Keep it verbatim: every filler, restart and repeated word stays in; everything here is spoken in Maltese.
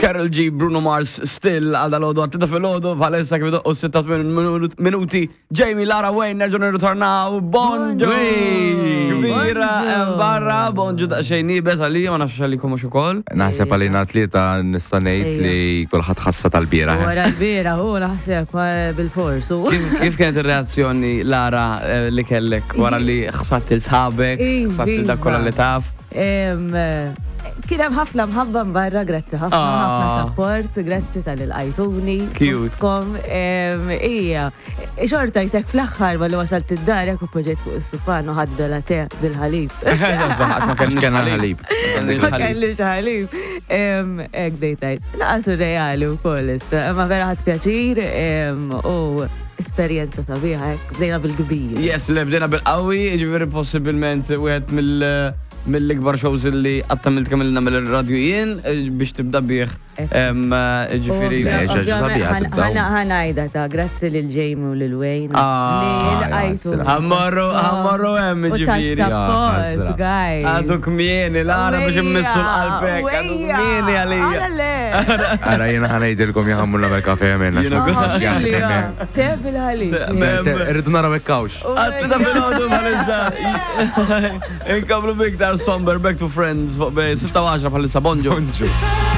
Karol G, Bruno Mars, Still, għal dal-għodu, għat-tlieta filgħodu, bħalissa kif doqqu sitta minuti, Jamie, Lara, Wayne, nerġgħu nirritornaw, bonġu! Kbira, Bonġu. Barra, bonġu daqsxejn iebes għalija, ma nafx għalikom mhux ukoll. Naħseb għalina tlieta nista' ngħid li kulħadd ħassa tal-bieraħ. Wara l-bieraħ, u naħseb ma bil-fors. u- Kif kif kienet ir-reazzjoni, Lara, eh, li kellek wara li ħsadt lil sħabek, Iva. ħsadt il dak kollha li taf? Em, eh, Kien hemm ħafna mħabba barra, grazzi ħafna, Ah. ħafna support, grazzi talli lqajtuni. Cute. Fostkom, em, Ija, xorta jisek fl-aħħar malli wasalt id-dar, jekk u poġġejt fuq is-sufan u ħadt bela te bil-ħalib. Ma Għax kellna ħalib. Ma kellix ħalib. Em, Ek dejtajt. Naqa surreali u koll, ma vera ħadt pjaċir em, u esperjenza sabiħa, hekk, bdejna bil-kbir. Yes, le bdejna bil-qawwi, ġifieri possibilment wieħed mill- mill-ikbar shows li qatt għamilt kemm ilna mill-radju jien eh, biex tibda bih em, eh, ġifieri. Le, ġaġa sabiħa tibdaw. Ħa ngħidha ta' grazzi lil Jamie u lil Wayne. Ah, Li lqajtu. ja, Ħa mmorru, ħa mmorru hemm U ġifieri. tas-support, Ja, guys. Għadu kmieni, Lara, biex immissu l-qalbek, għadu kmieni għalija. Għala le. Ara jiena ħa ngħidilkom ħa mmur nagħmel kafe għamilna. Jiena Te bil-ħalib. Irridu naraw ekkawx. Għat-tlieta filgħodu bħalissa. Inkomplu biktar Somber, Back to Friends, fuq bej sitta u għaxra bħalissa, bonġu. Bonġu.